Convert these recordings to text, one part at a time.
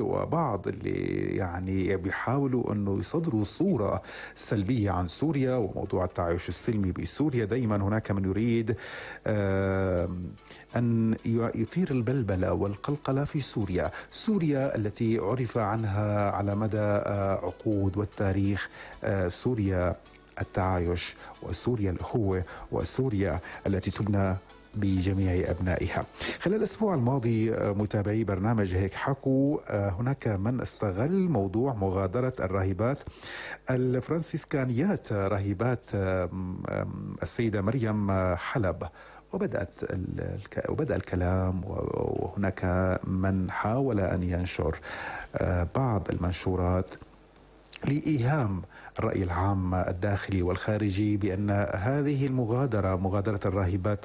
وبعض اللي يعني بيحاولوا انه يصدروا صورة سلبية عن سوريا وموضوع التعايش السلمي بسوريا. دائما هناك من يريد ان يثير البلبلة والقلقلة في سوريا. سوريا التي عرف عنها على مدى عقود والتاريخ سوريا التعايش، وسوريا الأخوة، وسوريا التي تبنى بجميع أبنائها. خلال الأسبوع الماضي متابعي برنامج هيك حكوا هناك من استغل موضوع مغادرة الراهبات الفرنسيسكانيات، راهبات السيدة مريم حلب، وبدأ الكلام، وهناك من حاول أن ينشر بعض المنشورات لإيهام الرأي العام الداخلي والخارجي بأن هذه المغادرة، مغادرة الراهبات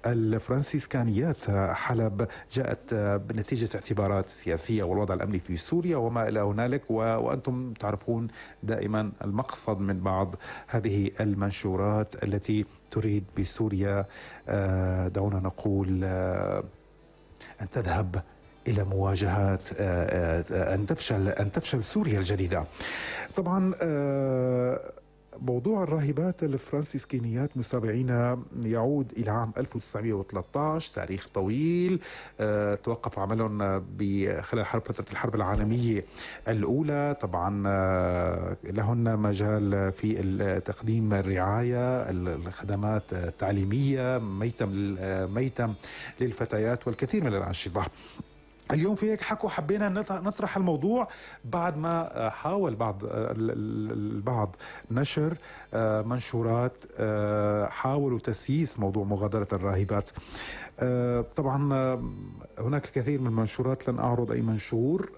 الفرنسيسكانيات حلب، جاءت بنتيجة اعتبارات سياسية والوضع الأمني في سوريا وما إلى هنالك. وأنتم تعرفون دائما المقصد من بعض هذه المنشورات التي تريد بسوريا دعونا نقول أن تذهب إلى مواجهات، أن تفشل سوريا الجديدة. طبعا موضوع الراهبات الفرنسيسكينيات متابعينا يعود إلى عام 1913، تاريخ طويل. توقف عملهم خلال فترة الحرب العالمية الأولى. طبعا لهن مجال في تقديم الرعاية، الخدمات التعليمية، ميتم للفتيات والكثير من الأنشطة. اليوم في هيك حكوا حبينا نطرح الموضوع بعد ما حاول البعض نشر منشورات حاولوا تسييس موضوع مغادرة الراهبات. طبعا هناك الكثير من المنشورات، لن أعرض أي منشور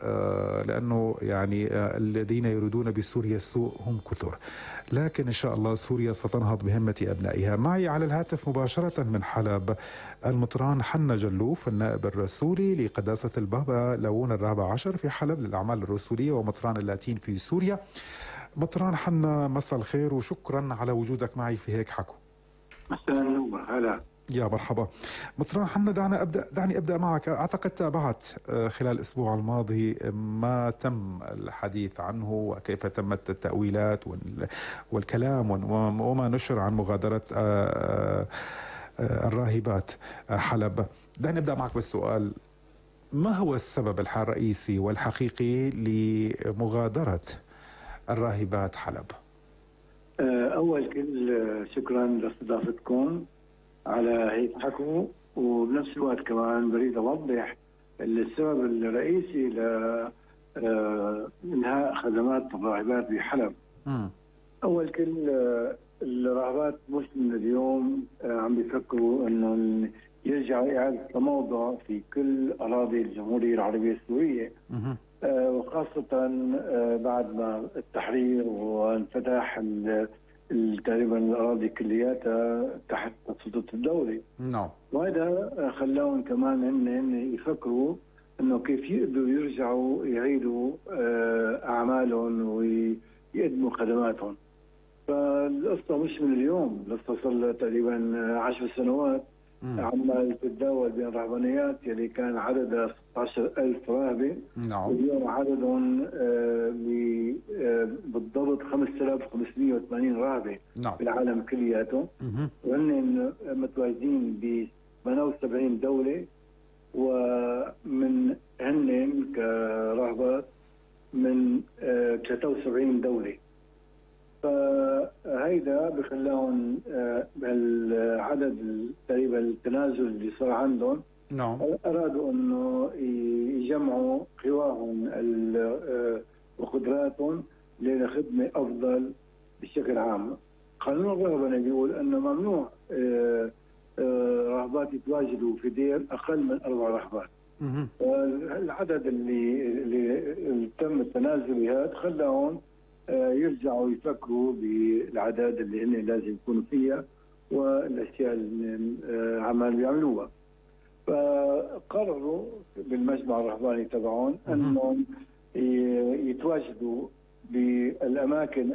لأنه يعني الذين يريدون بسوريا السوء هم كثر، لكن إن شاء الله سوريا ستنهض بهمة أبنائها. معي على الهاتف مباشرة من حلب المطران حنا جلوف، النائب الرسولي لقداسة البابا لون ال14 في حلب للأعمال الرسولية ومطران اللاتين في سوريا. مطران حنا، مساء الخير وشكرا على وجودك معي في هيك حكوا. مساء النور، هلا يا مرحبا. مطران حنا، دعني أبدأ معك. أعتقد تابعت خلال الأسبوع الماضي ما تم الحديث عنه وكيف تمت التأويلات والكلام وما نشر عن مغادرة الراهبات حلب. دعني أبدأ معك بالسؤال، ما هو السبب الرئيسي والحقيقي لمغادرة الراهبات حلب؟ أول كل شكرا لاستضافتكم على هيك حكوا، وبنفس الوقت كمان بريد أوضح السبب الرئيسي لإنهاء خدمات الراهبات بحلب. أول كل الراهبات مسلم اليوم عم بيفكروا إنه يرجعوا إعادة تموضع في كل أراضي الجمهورية العربية السورية، وخاصة بعد ما التحرير وانفتح تقريبا الأراضي كلياتها تحت سلطة الدولة. نعم. وهذا خلاهم كمان هن يفكروا إنه كيف يقدروا يرجعوا يعيدوا أعمالهم ويقدموا خدماتهم. فالقصة مش من اليوم، القصة صار لها تقريبا 10 سنوات عمال تتداول بين الرهبانيات يلي كان عددها 16,000 راهبة. نعم. واليوم عددهم بالضبط 5580 راهبة. نعم. بالعالم كلياته، وهن متواجدين ب 78 دولة، ومن هن كراهبات من 73 دولة. فهيدا بخلاهم بهالعدد تقريبا التنازل اللي صار عندهم. نعم. أرادوا أنه يجمعوا قواهم وقدراتهم لخدمة أفضل بشكل عام. قانون الرهبنة بيقول أنه ممنوع راهبات يتواجدوا في دير أقل من 4 راهبات. العدد اللي تم التنازل بها خلاهم يرجعوا يفكروا بالأعداد اللي هن لازم يكونوا فيها والأشياء اللي عمال بيعملوها. فقرروا بالمجمع الرهباني تبعهم أنهم يتواجدوا بالأماكن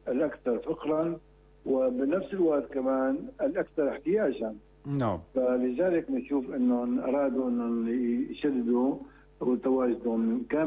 الأكثر فقرا، وبنفس الوقت كمان الأكثر احتياجا. نعم. فلذلك نشوف أنهم أرادوا أنهم يشددوا وتواجدهم كان